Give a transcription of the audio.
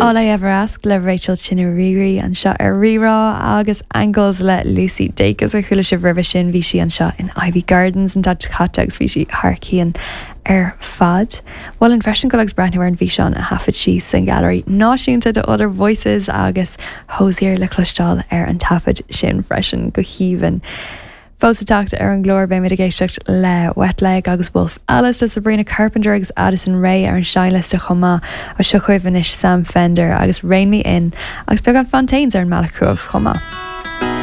All I Ever Ask le Rachel Chinouriri anseo ar Rí-Rá agus Angles le Lucy Dacus a chuala sibh roimhe sin. Bhí sí anseo in Iveagh Gardens an tseachtain seo caite agus bhí sí thar cionn ar fad. Mholfainn freisin dul agus breathnú ar an bhfíseán a thaifead sí sa Ghailearaí Náisiúnta do Other Voices agus Hozier le cloisteáil ar an taifead sin freisin. Go haoibhinn. Fós le teacht ar an gclár beimid ag éisteacht le Wet Leg agus Wolf Alice, le Sabrina Carpenter agus Addison Rae ar an seinnliosta chomh maith. Ach seo chugaibh anois Sam Fender agus Rein Me In agus beagán Fontaines ar an mbealach chugaibh chomh maith.